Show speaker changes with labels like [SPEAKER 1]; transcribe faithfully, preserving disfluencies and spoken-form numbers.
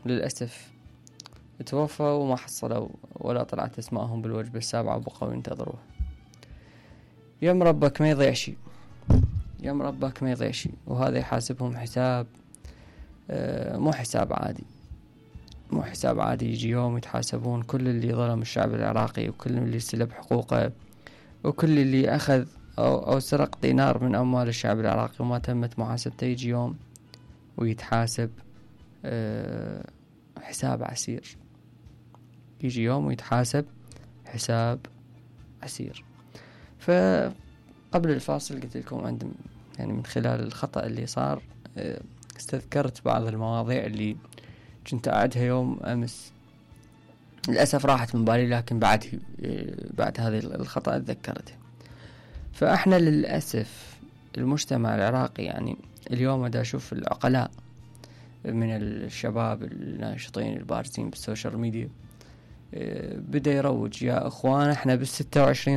[SPEAKER 1] للأسف توفوا وما حصلوا ولا طلعت اسمائهم بالوجبة السابعة وبقوا ينتظروه. يم ربك ما يضيع شي، يم ربك ما يضيع شي، وهذا يحاسبهم حساب آه مو حساب عادي، مو حساب عادي. يجي يوم يتحاسبون كل اللي ظلم الشعب العراقي، وكل اللي سلب حقوقه، وكل اللي أخذ أو, أو سرق دينار من أموال الشعب العراقي وما تمت محاسبته. يجي يوم ويتحاسب أه حساب عسير، يجي يوم ويتحاسب حساب عسير. فقبل الفاصل قلت لكم عندم يعني من خلال الخطأ اللي صار أه استذكرت بعض المواضيع اللي كنت أعدها يوم أمس، للأسف راحت من بالي، لكن بعد بعد هذا الخطأ أتذكرته. فإحنا للأسف المجتمع العراقي يعني اليوم دا أشوف العقلاء من الشباب الناشطين البارزين بالسوشيال ميديا بدأ يروج يا أخوان إحنا بالستة وعشرين